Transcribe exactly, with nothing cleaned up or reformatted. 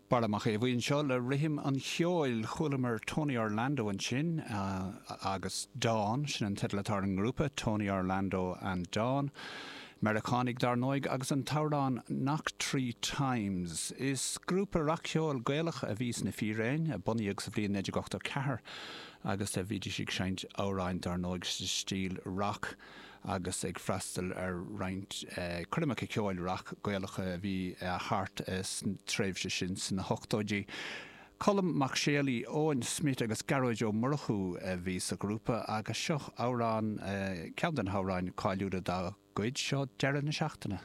Barra Mac Aodha Bhuí anseo le Rithim an Cheoil. Chualamar Tony Orlando ansin agus Dawn, sin an teideal atá ar an ngrúpa, Tony Orlando and Dawn. Meiriceánaigh dar ndóigh agus an t-amhrán Knock Three Times. Is grúpa rac-cheoil Gaelach a bhí sna Fíréin, a bunaíodh sa bhliain naoi déag ochtó ceathair agus a bhídís ag seinnt amhráin dar ndóigh sa stíl rac agus ag freastal ar roinnt coirmeacha ceoil rac Gaelacha a bhí thart sa tréimhse sin sna hochtóidí. Colm Mac Séalaigh, Eoin Smith agus Gearóid Ó Murchú a bhí sa ghrúpa agus seo amhrán, ceann de na hamhráin cáiliúla dá gcuid, seo Deireadh na Seachtaine.